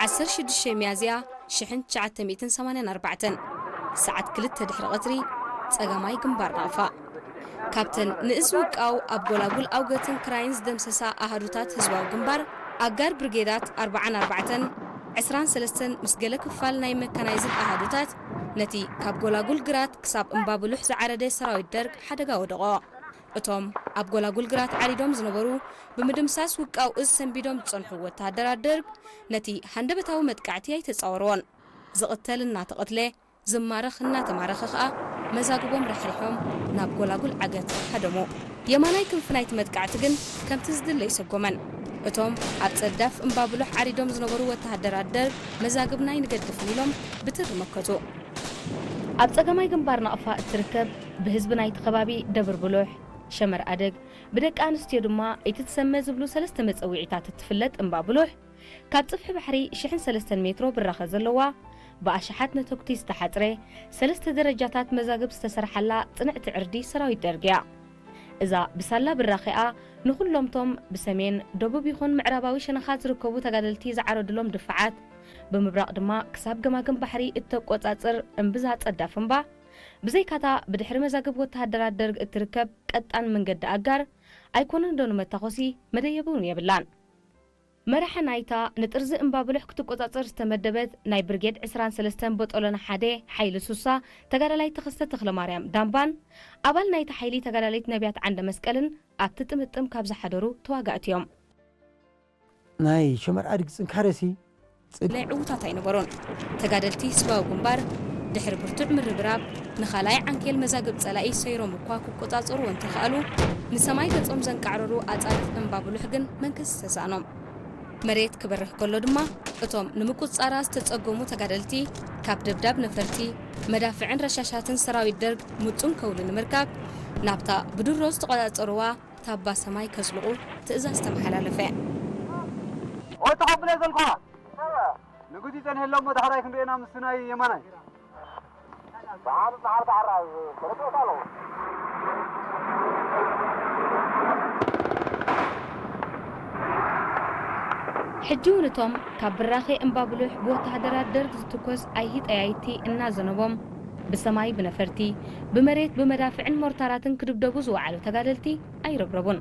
ዓሰርተ ሽዱሽተ ሚያዝያ ሽሕን ትሽዓተ ሚእትን ሰማንያን ኣርባዕተን፣ ሰዓት ክልተ ድሕሪ ቀትሪ፣ ጸጋማይ ግንባር ናቕፋ። ካብተን ንእዝ ውቃው ኣብ ጎላጉል ኣውገትን ክራይን ዝደምሰሳ ኣሃዱታት ህዝባዊ ግንባር፣ ኣጋር ብርጌዳት ኣርብዓን ኣርባዕተን፣ ዕስራን ሰለስተን ምስ ገለ ክፋል ናይ መካናይዝድ ኣሃዱታት፣ ነቲ ካብ ጎላጉል ግራት ክሳብ እምባብሉሕ ዝዓረደ ሰራዊት ደርግ ሓደጋ ወደቖ። እቶም ኣብ ጎላጉል ግራት ዓሪዶም ዝነበሩ፣ ብምድምሳስ ውቃው እዝ ሰንቢዶም ዝጸንሑ ወተሃደራት ደርግ፣ ነቲ ሃንደበታዊ መጥቃዕቲ ኣይተጻወርዎን። ዝቕተል እናተቐትለ፣ ዝማረኽ እናተማረኸ ኸኣ፣ መዛግቦም ራሕሪሖም ናብ ጎላጉል ዓገት ሃደሙ። የማናይ ክንፊ ናይቲ መጥቃዕቲ ግን ከምቲ ዝድለ ኣይሰጎመን። እቶም ኣብ ጸዳፍ እምባብሉሕ ዓሪዶም ዝነበሩ ወተሃደራት ደርግ፣ መዛግብና ኣይንገድፍን ኢሎም ብትሪ መከቱ። ኣብ ጸጋማይ ግንባር ናቕፋ እትርከብ፣ ብህዝቢ ናይቲ ከባቢ ደብር ብሉሕ፣ ሸመር ኣደግ፣ ብደቂ ኣንስትዮ ድማ ኢትትሰመ ዝብሉ ሰለስተ መጸውዒታት እትፍለጥ እምባ ብሉሕ፣ ካብ ጽፍሒ ባሕሪ ሽሕን ሰለስተን ሜትሮ ብራኸ ዘለዋ፣ ብኣሽሓት ነተጉቲ ዝተሓጽረ፣ ሰለስተ ደረጃታት መዛግብ ዝተሰርሓላ ጽንዕቲ ዕርዲ ሰራዊት ደርግ እያ። እዛ ብሳላ ብራኸኣ ንኹሎምቶም ብሰሜን፣ ደቡብ ይኹን ምዕራባዊ ሸነኻት ዝርከቡ ተጋደልቲ ዝዓረዱሎም ድፋዓት፣ ብምብራቕ ድማ ክሳብ ገማግም ባሕሪ እተቆጻጽር እምብዛ ጸዳፍ እምባ፣ ብዘይካታ ብድሕሪ መዛግብ ወተሃደራት ደርግ እትርከብ ቀጣን መንገዲ ኣጋር፣ ኣይኮነን ዶ ንመታኾሲ መደየቢ እውን የብላን። መራሒ ናይታ ንጥርዚ እምባ ብሉሕ ክትቆጻጸር ዝተመደበት ናይ ብርጌድ ዕስራን ሰለስተን ቦጦሎና ሓደ ሓይሊ ሱሳ ተጋዳላይ ተኸስተ ተኽለማርያም ዳምባን ኣባል ናይቲ ሓይሊ ተጋዳሊት ነቢያት ዓንደ መስቀልን ኣብቲ ጥምጥም ካብ ዝሓደሩ ተዋጋእቲ እዮም። ናይ ሸመር ኣድግ ጽንካረሲ ጽድ ናይ ዕዉታት ኣይነበሩን። ተጋደልቲ ህዝባዊ ግንባር ድሕሪ ብርቱዕ ምርብራብ ንኻልኣይ ዓንኬል መዛግብ ጸላኢ ሰይሮም እኳ ክቆጻጸሩ እንተኸኣሉ፣ ንሰማይ ገጾም ዘንቃዕረሩ ኣጻድፍ እምባ ብሉሕ ግን መንከስ ዝተሳእኖም። መሬት ክበርህ ከሎ ድማ፣ እቶም ንምቁጽጻራ ዝተጸገሙ ተጋደልቲ፣ ካብ ደብዳብ ነፈርቲ፣ መዳፍዕን ረሻሻትን ሰራዊት ደርግ ምጹን ከውሊ ንምርካብ፣ ናብታ ብድሮ ዝተቆጻጸርዋ ታባ ሰማይ ከስልቑ ትእዛዝ ተመሓላለፈ። ኦይ፣ ተቐብለ ዘልኳ። ንጉስ ይጸንሐሎም፣ ዳሕራይ ክንሪኤና ምስ ናይ የማናይ። ሕጂ እውን እቶም ካብ ብራኸ እምባ ብሉሕ ብወተሃደራት ደርግ ዝትኮስ ኣይሂ ጠያይቲ እናዘነቦም፣ ብሰማይ ብነፈርቲ፣ ብመሬት ብመዳፍዕን ሞርታራትን ክድብደቡ ዝወዓሉ ተጋደልቲ ኣይረብረቡን።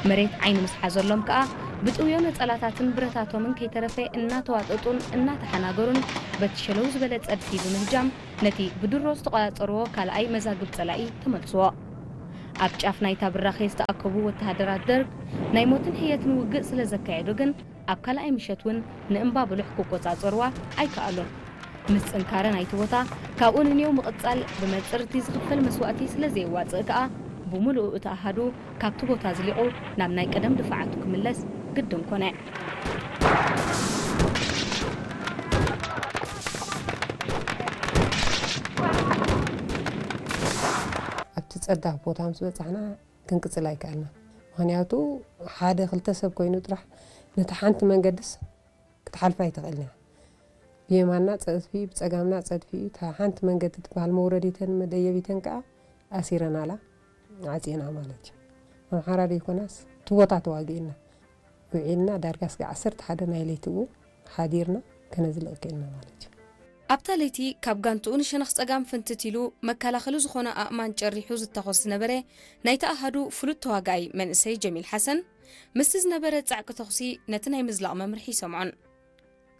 መሬት ዓይኒ ምስ ሓዘሎም ከኣ፣ ብጥውዮ ነጸላታትን ብረታቶምን ከይተረፈ እናተዋጠጡን እናተሓናገሩን፣ በቲ ሸለው ዝበለ ጸድፊ ብምህጃም፣ ነቲ ብድሮ ዝተቖጻጸርዎ ካልኣይ መዛግብ ጸላኢ ተመልስዎ። ኣብ ጫፍ ናይታ ብራኸ ዝተኣከቡ ወተሃደራት ደርግ፣ ናይ ሞትን ሕየትን ውግእ ስለ ዘካየዱ ግን፣ ኣብ ካልኣይ ምሸት እውን ንእምባ ብሉሕ ክቆጻጸርዋ ኣይከኣሉን። ምስ ጽንካረ ናይቲ ቦታ ካብኡ ንኔው ምቕጻል ብመጽርቲ ዝኽፈል መስዋእቲ ስለ ዘየዋጽእ ከኣ፣ ብምሉኡ እቲ ኣሃዱ ካብቲ ቦታ ኣዝሊቑ ናብ ናይ ቀደም ድፋዓቱ ክምለስ ግድን ኮነ። ኣብቲ ጸዳፍ ቦታ ምስ በጻሕና ክንቅጽል ኣይከኣልናን። ምኽንያቱ ሓደ ክልተ ሰብ ኮይኑ ጥራሕ ነታ ሓንቲ መንገድስ ክትሓልፋ ኣይትኽእልን እያ። ብየማንና ጸድፊ፣ ብጸጋምና ጸድፊ እዩ። እታ ሓንቲ መንገዲ ትበሃል መውረዲተን መደየቢተን ከኣ ኣሲረናላ፣ ዓጺና ማለት እዩ። ኣምሓራ ደይኮናስ እቲ ቦታ ተዋጊእና ውዒልና፣ ዳርጋ እስከ ዓሰርተ ሓደ ናይ ለይቲ እው ሓዲርና ከነዝልቕ ክኢልና ማለት እዩ። ኣብታ ለይቲ ካብ ጋንትኡ ንሸነኽ ጸጋም ፍንትት ኢሉ መከላኸሊ ዝኾነ ኣእማን ጨሪሑ ዝታኾስ ዝነበረ ናይቲ ኣሃዱ ፍሉጥ ተዋጋኣይ መንእሰይ ጀሚል ሓሰን፣ ምስቲ ዝነበረ ጻዕቂ ተኹሲ ነቲ ናይ ምዝላቕ መምርሒ ኣይሰምዖን።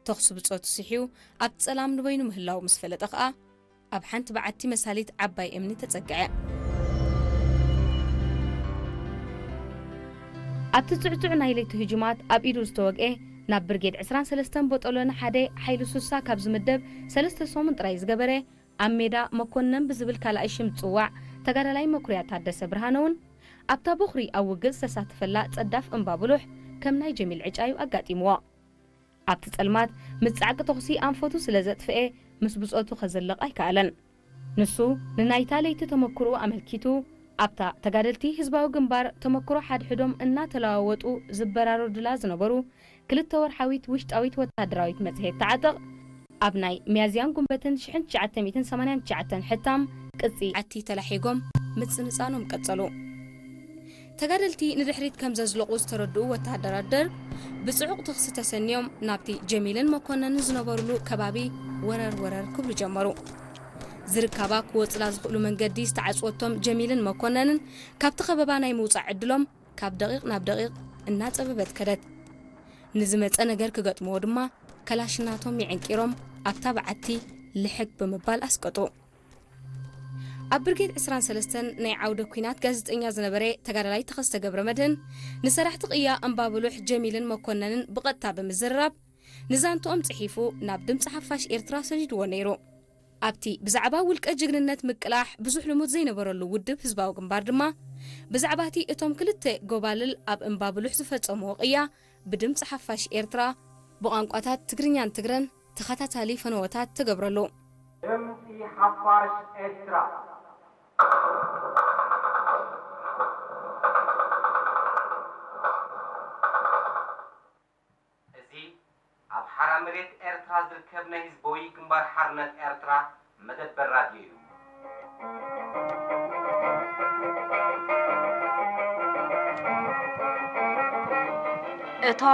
ተኹሲ ብጾቱ ስሕዩ ኣብ ጸላም ንበይኑ ምህላዉ ምስ ፈለጠ ኸኣ፣ ኣብ ሓንቲ በዓቲ መሳሊት ዓባይ እምኒ ተጸግዐ። ኣብቲ ጽዕጹዕ ናይ ለይቲ ህጁማት ኣብ ኢዱ ዝተወግኤ፣ ናብ ብርጌድ ዕስራን ሰለስተን ቦጦሎኒ ሓደ ሓይሊ ሱሳ ካብ ዝምደብ ሰለስተ ሰሙን ጥራይ ዝገበረ፣ ኣብ ሜዳ መኮነን ብዝብል ካልኣይ ሽም ዝጽዋዕ ተጋዳላይ መኩርያ ታደሰ ብርሃነ እውን፣ ኣብታ ቦኽሪ ኣብ ውግእ ዝተሳተፈላ ጸዳፍ እምባ ብሉሕ ከም ናይ ጀሚል ዕጫ እዩ ኣጋጢምዎ። ኣብቲ ጸልማት ምስ ጻዕቂ ተኹሲ ኣንፈቱ ስለ ዘጥፍኤ፣ ምስ ብጾቱ ከዘልቕ ኣይከኣለን። ንሱ ንናይታ ለይቲ ተመክሮኡ ኣመልኪቱ፣ ኣብታ ተጋደልቲ ህዝባዊ ግንባር ተመክሮ ሓድሕዶም እናተለዋወጡ ዝበራረዱላ ዝነበሩ ክልተ ወርሓዊት ውሽጣዊት ወተሃደራዊት መጽሔት ተዓጥቕ፣ ኣብ ናይ ሚያዝያን ጉንበትን ሽሕን ትሽዓተ ሚእትን ሰማንያን ትሽዓተን ሕታም ቅጺ ኣቲ ተላሒጎም ምጽንጻኖም ቀጸሉ። ተጋደልቲ ንድሕሪት ከም ዘዝለቑ ዝተረድኡ ወተሃደራት ደርግ፣ ብጽዑቕ ተኽሲ ተሰንዮም ናብቲ ጀሚልን መኮነንን ዝነበሩሉ ከባቢ ወረር ወረር ክብሉ ጀመሩ። ዝርካባ ክወጽላ ዝኽእሉ መንገዲ ዝተዓጽወቶም ጀሚልን መኮነንን፣ ካብቲ ከበባ ናይ ምውጻእ ዕድሎም ካብ ደቒቕ ናብ ደቒቕ እናጸበበት ከደት። ንዝመጸ ነገር ክገጥምዎ ድማ፣ ከላሽናቶም የዕንቂሮም ኣብታ በዓቲ ልሕግ ብምባል ኣስቀጡ። ኣብ ብርጌድ ዕስራን ሰለስተን ናይ ዓውደ ኲናት ጋዜጠኛ ዝነበረ ተጋዳላይ ተኸስተ ገብረ መድህን፣ ንሰራሕቲ ቅያ እምባብሉሕ ጀሚልን መኮነንን ብቐጥታ ብምዝርራብ፣ ንዛንትኦም ጽሒፉ ናብ ድምጺ ሓፋሽ ኤርትራ ሰዲድዎ ነይሩ። ኣብቲ ብዛዕባ ውልቀ ጅግንነት ምቅላሕ ብዙሕ ልሙድ ዘይነበረሉ ውድብ ህዝባዊ ግንባር ድማ፣ ብዛዕባ እቲ እቶም ክልተ ጎባልል ኣብ እምባብሉሕ ዝፈጸምዎ ቅያ ብድምጺ ሓፋሽ ኤርትራ ብቋንቋታት ትግርኛን ትግረን ተኸታታሊ ፈነወታት ተገብረሉ። ድምጺ ሓፋሽ ኤርትራ። እዚ ኣብ ሓራ መሬት ኤርትራ ዝርከብ ናይ ህዝባዊ ግንባር ሓርነት ኤርትራ መደበር ራድዮ እዩ። እቶም